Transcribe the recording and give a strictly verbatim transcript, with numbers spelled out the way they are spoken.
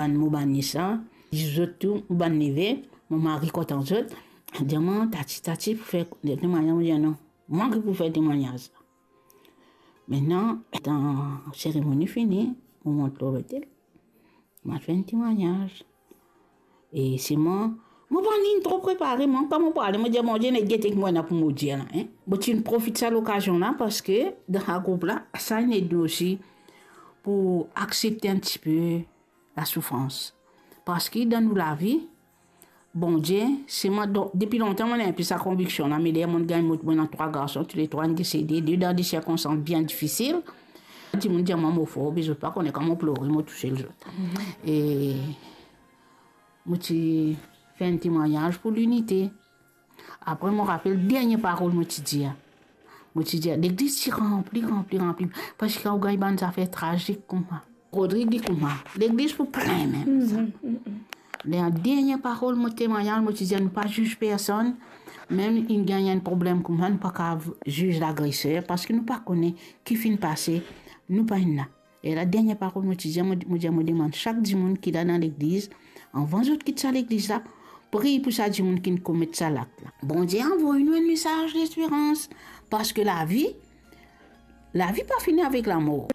Bann mo bann nis la, zot tou, mo bann neve, mo mari kontan zot. Dir mwa, "Tati, Tati, pou fer temwagnaz." Mo dir, "Non, mwa ki pou fer temwagnaz la." Aster, seremoni fini, mo mont lor lotel. Mo fer enn temwagnaz. E selman, mo pa inn tro prepare, mo kouma mo pou ale, mo dir, "Bondie, nek gete ki mo ena pou mo dir la, en." Mo ti profit sa lokazion la, parski dan sa group la, sa inn ed nou osi pou aksepte enn tipe lasoufrans. Parski dan nou lavi, Bondie, selman, donk, depi lontan, mo ena enn pe sa konviksion la, me ler mo gagn mo, mo ena trwa garson, touletrwa inn desede, de dan de sirkonstans bien difisil. Dimoun dir mwa mo for, be zot pa kone kan mo plore, mo tousel zot. E mo ti fer enn temwagnaz pou linite. Apre, mo rapel dernie parol mo ti dir. Mo ti dir, legliz ti ranpli, ranpli, ranpli. Parski ou gagn bann zafer trazik kouma. Rodrig li kouma, legliz pou plin mem sa. Ler dernie parol mo temwagnaz, mo ti dir, nou pa ziz personn, mem inn gagn enn problem kouma, nou pa kav ziz lagreser, parski nou pa kone ki finn pase, nou pa inn la. E la dernie parol mo ti dir, mo, mo dir, mo demann sak dimoun ki la dan legliz, anvan zot kit sa legliz la, priy pou sa dimoun ki komet sa lak la. Bondie avoy nou enn mesaz lesperans, parski lavi, lavi pa fini avek lamor.